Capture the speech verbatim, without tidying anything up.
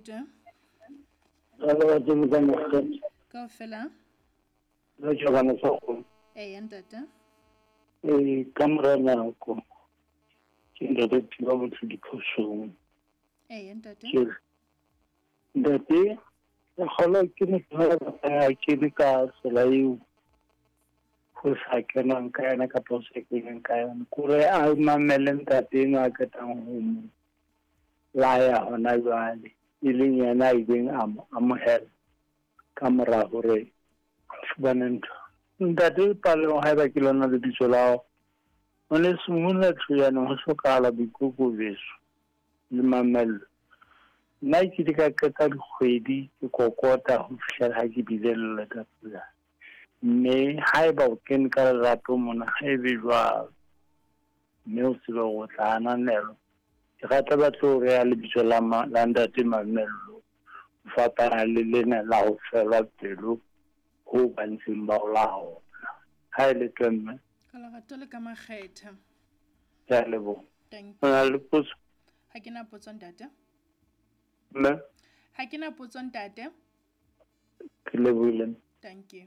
Tshitwe. Ka le ka mokgete. Kaofela. Le tjhobana sa kgomo. Eya ntate. Ee, ka mora nako ke ntate thiba motho diphosong. Eya ntate. Ke ntate ke kgolwa ke motho a kene ka tsela eo ho sa kenwang ka yona kapa ho sa keneng ka yona. Kore a mamele ntate enwa a qetang ho mo laya hona jwale, e leng yena a ileng a mo amohela ka mora hore a fumane ntho. Ntate Paleng, haeba ke lona lebitso la hao, ngwaneso mona Thojaneng ho hlokahala boikokobetso le mamello. Nna ke ile ka qeta dikgwedi ke kokota ho fihlela ha ke bile le leka. Mme haeba o kene ka lerato mona, ha ebe jwalo, mme o tsebe hore o tla ananelwa. Ke rata ba tlo reha lebitso la ma, la ntate Mamello, ho fapana le lena la ho fela pelo ho ba ntseng ba o laola. Ha e le teng mme. Ka lerato le ka makgetha. Ke a leboha. Thank O na le potso? Ha ke na potso ntate. Mme? Ha ke na potso ntate. Ke lebohile. Thank you.